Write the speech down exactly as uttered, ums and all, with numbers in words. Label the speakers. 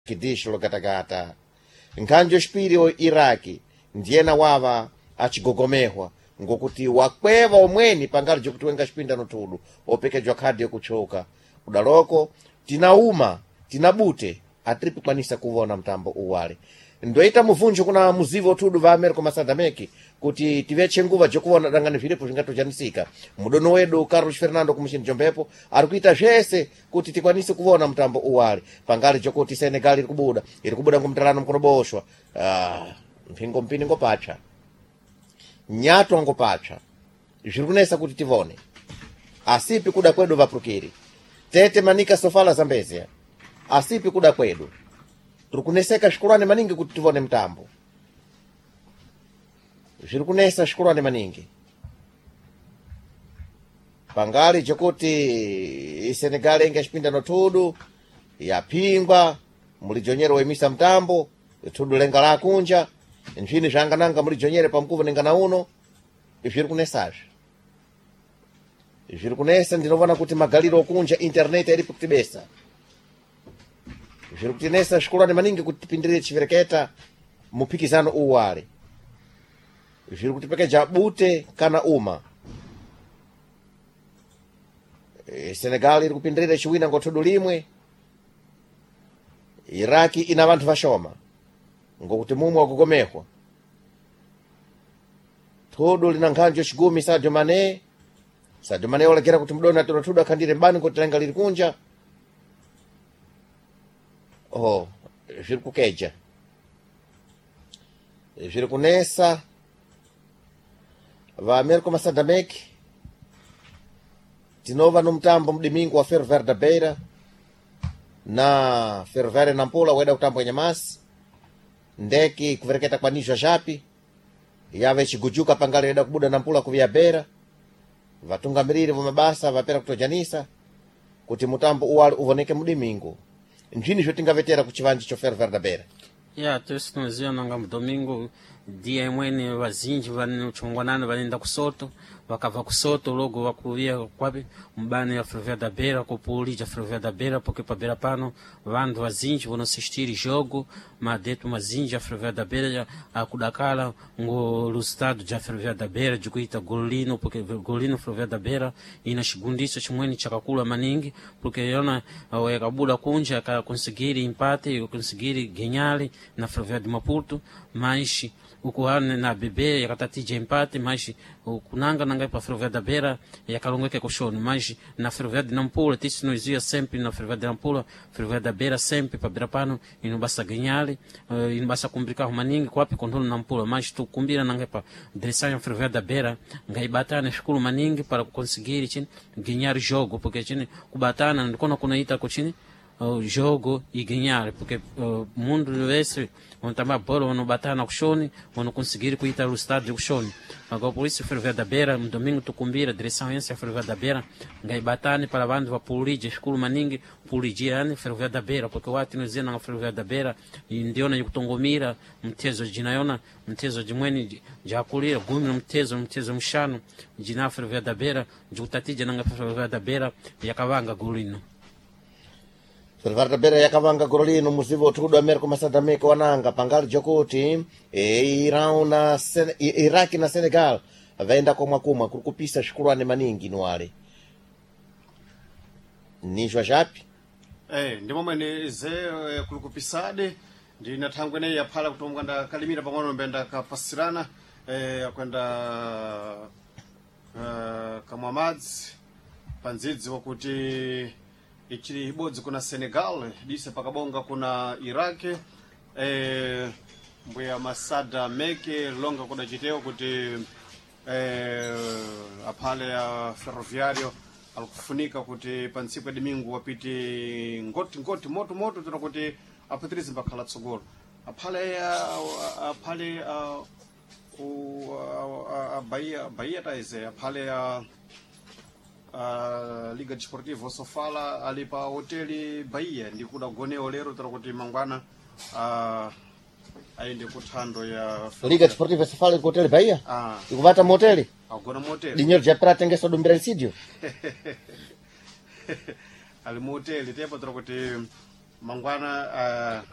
Speaker 1: Kidisho lokatakata nkhanjo xipiri o Iraki ndiyena wava achigogomehwa ngokuti wakweva omweni pangali jokuti wenga xipindano thudu opekejwa khadi yokuchoka kudaloko tinauma tinabute atiripikwanisa kuvona mtambo uwale. Ndoita muvunjo kuna muzivo thudu va Amerika Masadameki kuti tiveche nguva jokuvona dangani vilipo zvingatojanisika. Mudono wedu Carlos Fernando kumuchini jombepo ari kuita zvese kuti tikwanise kuvona mtambo uwale pangali jokuti Senegal iri kubuda iri kubuda ngomtalano mkonoboshwa. Ah, mphingo mpini ngopatsva, nyatwa ngopatsva, zviri kunesa kuti tivone, asipi kuda kwedu vapurukiri tete manika sofala Zambezia, asipi kuda kwedu, tiri kuneseka svikulwane maningi kuti tivone mtambo, zviri kunesa svikulwane maningi pangali jokuti Senegal inga xipindano thudu yaphingwa mulijonyere woimisa mtambo thudu lenga lakunja nzvini zvangananga mulijonyere pamkuvo nengana uno zviri kunesazve, zviri kunesa. Ndinovona kuti magaliro okunja internet iripo kutibesa, zviri kutinesa svikulwane maningi kuti tipindirire chivereketa muphikizano uwale, zviri kutipekeja bute kana uma. E, Senegal iri kupindirira chiwina ngothudu limwe. Iraki ina vanthu vashoma ngokuti mumwe wakugomehwa thudu lina nkhanjo xigumi. Sadio Mane, Sadio Mane olekera kuti mdoni atoro thudu akhandire mbani kuti lenga liri kunja. Oh, zviri kukeja, zviri kunesa va America Masadameki. Tinova no mtambo mdimingo wa Ferroviário da Beira na Ferroviário Nampula weda kutambwa nyamasi ndeki kuvereketa kwa nizwa japi yave chigujuka pangali yeda kubuda Nampula kuvia Beira. Vatungamiriri va mabasa vapera kutojanisa kuti mutambo uwali uvoneke mudimingo nzvini zvotingavetera kuchivanji cho Ferroviário da Beira.
Speaker 2: Ya, tosi tunoziva nanga mudomingo dia imweni vazinji vanochongwanana vanoenda kusoto, vakabva kusoto logo vakuviya kwapi mubani ya Ferroviário da Beira kupulija Ferroviário da Beira, porque pa Beira pano vantu vazinji vonosistiri jogo madeto mazinji a Ferroviário da Beira akudakala ngo resultado ja Ferroviário da Beira jikuita golino, porque golino Ferroviário da Beira ina chigundiso chimweni chakakula maningi, porque yona yakabuda kunja akakonsigiri empate, yakonsigiri ganhar na Ferroviário de Maputo, mas ukuhana na B B yakatatija empate, mas kunanga nanga pa Ferroviário da Beira yakalongeka kushoni, mas na Ferroviário de Nampula tisi noizia sempre na Ferroviário de Nampula, Ferroviário da Beira sempre pa Beira pano inobasa ganhar, uh, inobasa kumbrika maningi kwapi kontolo Nampula, mas tukumbira nanga pa direção ya Ferroviário da Beira ngaibatana shukuru maningi para conseguir chini ganhar jogo, porque chini kubatana ndikona kunaita kuchini uh, jogo e ganhar, porque uh, mundo esse onde tá bola onde batana kushoni onde conseguir kuita o estádio kushoni. Agora por isso Ferroviário da Beira no domingo tukumbira direção essa Ferroviário da Beira ngaibatane para vandu vapulije shukuru maningi pulijiane Ferroviário da Beira, porque wati nozena na Ferroviário da Beira ndiona yikutongomira mtezo jinayona mtezo jimweni jakulira gumi no mtezo mtezo mshanu jina Ferroviário da Beira jikutatija nanga Ferroviário da Beira yakavanga golino.
Speaker 1: Ferroviário da Beira yakavanga golo lino muzivo uthudu Amerika Masadameki wananga pangali jokuti e, Irão na Sen Iraki na Senegal vaenda komwa kumwa kuri kupisa svikulwane maningi nuwale nizwa japi.
Speaker 3: Eh, ndi momwene ze eh, kuli kupisade ndi na thangwe ineyi yaphala kuti omwe ndakalimira pang'ono mbe ndakapasirana eh, akwenda eh, kamwa madzi pandzidzi wakuti ichili ibodzi kuna Senegal dise pakabonga kuna Iraq eh, mbuya Masada meke longa kudachitewa kuti eh, aphale ya Ferroviario alikufunika kuti pa ntsiku ya domingo wapite ngoti ngoti moto moto tena kuti apatirize mbakhala tsogolo aphale ah, aphale ah, ku ah, ah, Bahia Bahia taize aphale ah, uh, Liga Desportiva Sofala ali pa hoteli Bahia ndi kudagonewo lero tera kuti mangwana uh, ayende kuthando ya
Speaker 1: Liga Desportiva Sofala iri kuhoteli Bahia
Speaker 3: ah,
Speaker 1: ikuvata muhoteli
Speaker 3: agona muhoteli.
Speaker 1: Dinheiro japera atengesa dumbira nsidio.
Speaker 3: Ali muhoteli tepo tera kuti mangwana uh,